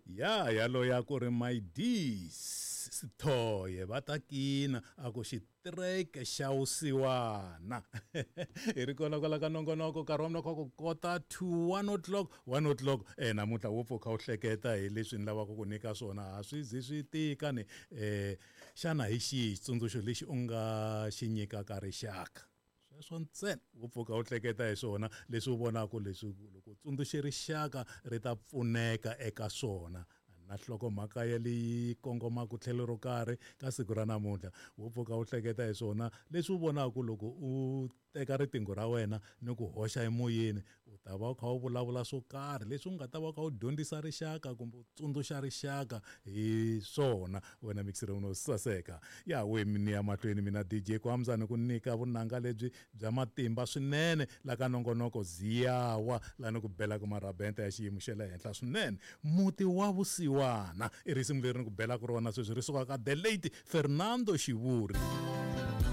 Ya yaloye a ku ri my D's Sithoye va ta kina a ku xitireke xa vusiwana. Hi ri kona kwala ka nongonoko nkarhi wa mina kha ku kota to 1 o'clock 1 o'clock namuntlha wo pfuka u hleketa hi leswi ni lavaka ku nyika swona a swi zi swi tika ni xana hi xihi xitsundzuxo lexi u nga xi nyikaka rixaka? Sweswo ntsena wo pfuka u hleketa hi swona leswi u vonaka leswi loko u tsundzuxe rixaka ri ta pfuneka eka swona. Na nhlokomhaka ya leyi kongomaka tlhelo ro karhi ka siku ra namuntlha wo pfuka u hleketa hi swona leswi u vonaka loko u teka riqingho ra wena ni ku hoxa emoyeni u ta va u kha u vulavula swo karhi leswi u nga ta va u kha u dyondzisa rixaka kumbe u tsundzuxa rixaka hi swona. Wena mixere uno saseka ya we ni ya mahlweni mina DJ Kwamza ni ku nyika vunanga lebyi bya matimba swinene la ka nongonoko ziyawa la ni ku belaka marabenta ya xiyimo xa le henhla swinene. Muti wa vusiwana i risimu leri ni ku belaka rona sweswi ri suka ka the late Fernando Xivuri.